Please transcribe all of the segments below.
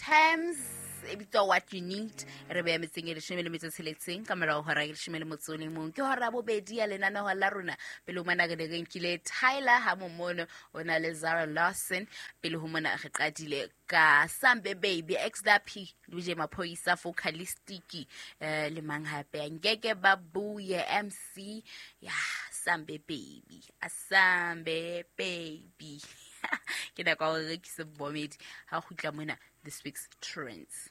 Terms e bitswa What You Need. Re beya metseng e 16 ka morao hora e 11. Ke hora bobedi ya lenaneo la rona. Pele ho mona re ne re nkile Tyler ha momono o na le Zara Lawson. Pele ho mona re qadile ka Sambe Baby, XDP, DJ Maphoyisa, Focalistic, le mang hape, Ngeke Babuye, MC, ya Sambe Baby, Asambe Baby. Ke nako ya hore re rekise bomedi ha kgutla mona this week's trends.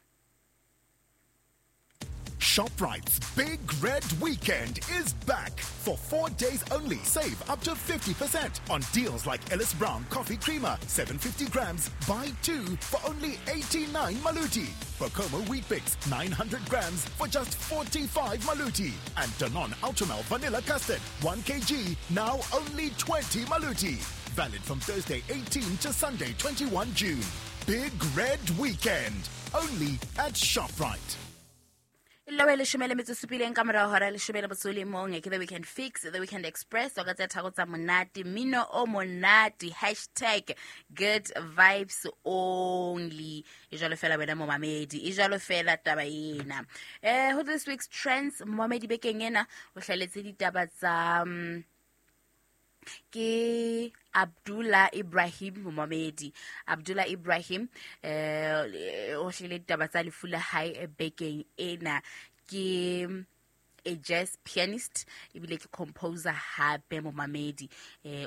ShopRite's Big Red Weekend is back. For 4 days only, save up to 50% on deals like Ellis Brown Coffee Creamer, 750 grams, buy 2 for only 89 Maluti. Bokomo Wheat Bix, 900 grams for just 45 Maluti. And Danone Ultramel Vanilla Custard, 1 kg, now only 20 Maluti. Valid from Thursday 18 to Sunday 21 June. Big Red Weekend, only at ShopRite. Lowe 17 ka morao hora 11, ke The Weekend Fix, The Weekend Express, o ka tse tharo tsa monate, mmino o monate, hashtag good vibes only. E jwalo fela wena momamedi, e jwalo fela taba ena. Ho this week's trends, momamedi bekeng ena o hlaletse ditaba tsa ke Abdullah Ibrahim momamedi. Abdullah Ibrahim o hlile ditaba tsa lefu la hae bekeng ena. Ke a jazz pianist ebile ke composer hape momamedi.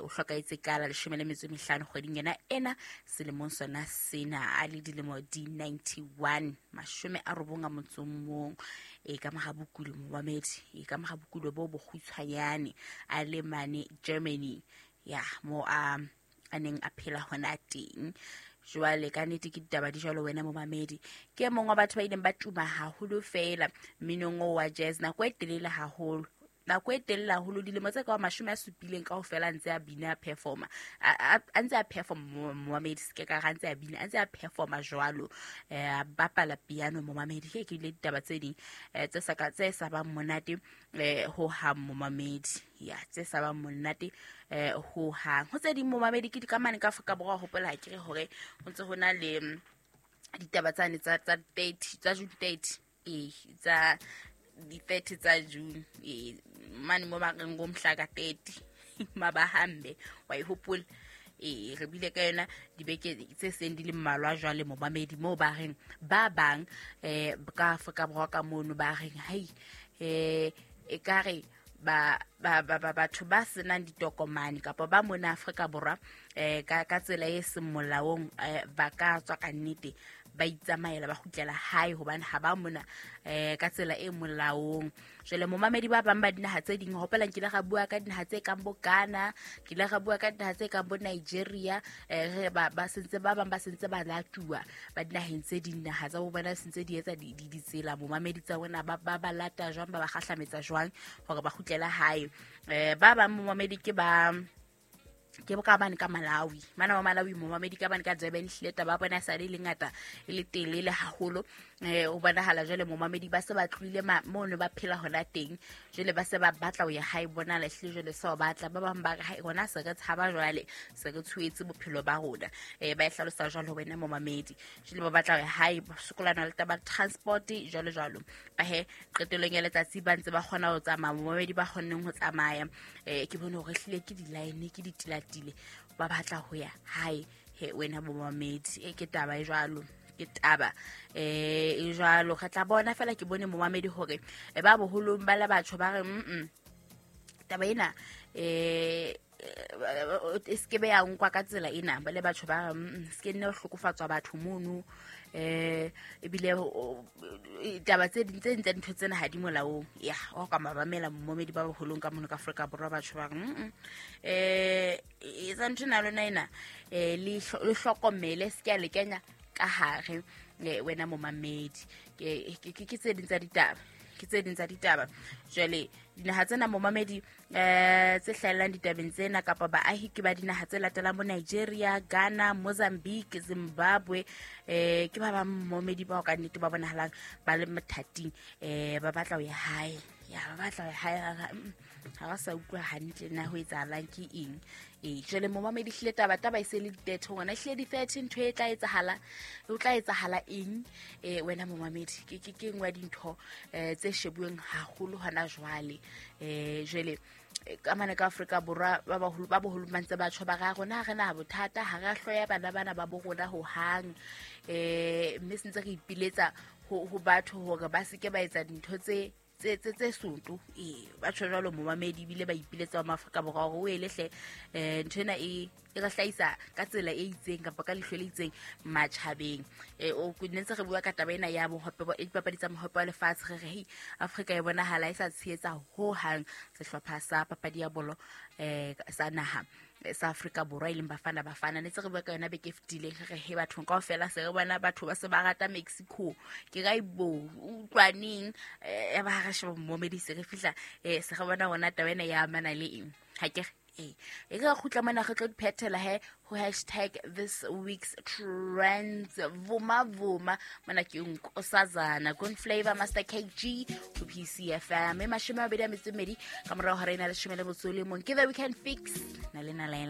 O hlokahetse ka la 15 kgweding ena ena selemong sona sena, a le dilemo di 91, 91. E ka mora bokulo momamedi, e ka mora bokulo bo bokgutshwanyane, a le mane Germany, ya mo a neng a phela hona teng. Jwale ka nnete ke ditaba di jwalo wena momamedi. Ke mong wa batho ba ileng ba tuma haholo fela mminong o wa jazz nako e telele haholo. Nako e telele haholo, dilemo tse ka 70 kaofela ntse a bina performer. A ntse a perform momamedi, se ke ka ra ntse a bina, a ntse a performa jwalo. A bapala piano momamedi. Ke ile ditaba tse ding tse sa ka tse sa bang monate ho hang momamedi. Ya tse sa bang monate ho hang. Ho tse ding momamedi ke dikamane ka Afrika Borwa, hopola ha ke re hore ho ntse ho na le ditaba tsane tsa 30 tsa June 30, tsa di 30 tsa June, mane mo ba reng ngomhla ka 30 mabahambe wa ihopola. Re bile ka yona dibeke tse seng di le mmalwa jwale momamedi, moo ba reng ba bang ka Afrika Borwa ka mono ba reng hai e ka re ba ba ba batho ba senang ditokomane kapa ba mona Afrika Borwa ka tsela e seng molaong, ba ka tswa ka nnete ba itsamaela ba kgutlela hae hobane ha ba mona ka tsela e molaong. Jwale momamedi ba bang ba dinaha tse ding, hopola nkile ga bua ka dinaha tse kang bo Ghana, ke ile ga bua ka dinaha tse kang bo Nigeria, re ba sentse ba bang ba sentse ba latuwa ba dinaheng tse ding, naha tsa bo bona sentse di etsa ditsela momamedi tsa bona ba ba lata jwang, ba ba kgahlametsa jwang hore ba kgutlela hae. Ba bang momamedi ke ba ke boka bane ka Malawi, mana wa Malawi momamedi ka bane ka Durban, hlile taba bona sa le ngata e le telele haholo. O bonahala jwale momamedi ba se ba tlohile mono ba phela hona teng, jwale ba se ba batla ho ya hae, bona le hlile jwale sa batla ba bang ba re hae rona se re tshaba jwale, se re tshuetse bophelo ba rona. Ba e hlalosa jwalo wena momamedi, jwale ba batla ho ya hae, ba sokolana le taba transport jwalo jwalo. Ba he qetellong ya letsatsi ba ntse ba kgona ho tsamaya momamedi, ba kgonneng ho tsamaya. Ke bone hore hlile ke di-line ke ditilatile ba batla ho ya hae. He wena momamedi, ke taba e jwalo, ke taba e jwalo. Re tla bona fela ke bone momamedi hore ba boholong ba la batho ba re taba ena e se ke be ya nkwa ka tsela ena, ba le batho ba se ke nne ho hlokofatswa batho mono. Ebile taba tse ding tse ding tsa dintho tsena ha di molaong. Ya o ka mabamela momamedi ba boholong ka mono ka Afrika Borwa, batho ba re etsa ntho ena lona ena, le hlokomele, se ke a le kenya ka hare wena momamedi. Ke tse ding tsa ditaba, ke tse ding tsa ditaba. Jwale dinaha tsena momamedi tse hlahellang ditabeng tsena kapa baahi ke ba dinaha tse latelang bo Nigeria, Ghana, Mozambique, Zimbabwe. Ke ba bang momamedi bao ka nnete ba bonahalang ba le mathateng, ba batla ho ya hae. Ya ba batla ho ya hae. Ga ba sa utlwa hantle na ho etsahalang ke eng. Ee, jwale momamedi, hlile taba e se le di-30 gona, hlile di-30 ntho e tla etsahala, o tla etsahala eng? Wena momamedi, ke nngwe ya dintho tse shebuweng haholo hona jwale. Jwale ka mane ka Afrika Borwa, ba baholo ba boholo ba ntse ba tjho ba re, rona ha re na bothata, ha re a hloya bana bana ba bo rona hohang. Mme se ntse re ipiletsa ho batho hore ba seke ba etsa dintho tse soto. Ee, ba tjho jwalo momamedi, ebile ba ipiletsa wa Maafrika Borwa hore o ele hle, ntho ena e re hlahisa ka tsela e itseng kapa ka leihlo le itseng matjhabeng. Ne ntse re bua ka taba ena ya bohope dipapadi tsa mohope wa lefatshe, re re hei, Afrika e bonahala e sa tshehetsa hohang sehlopha sa papadi ya bolo sa naha sa Afrika Borwa, e leng Bafana Bafana. Ne tse re bua ka yona beke e fetileng, re re he, bathong kaofela se re bona batho ba se ba rata Mexico. Ke ka ibo utlwaneng ya ba ha re sheba momedi, se re fihla se re bona rona taba ena ya amana le eng. Ha ke re ee, e re kgutla mona, re tlo di phethela he ho hashtag this week's trends. Vuma vuma mona ke Nkosazana Good Flavor, Master KG, ho PCFM. E 28 ka morao hora ena 11. Ke The Weekend Fix na le na.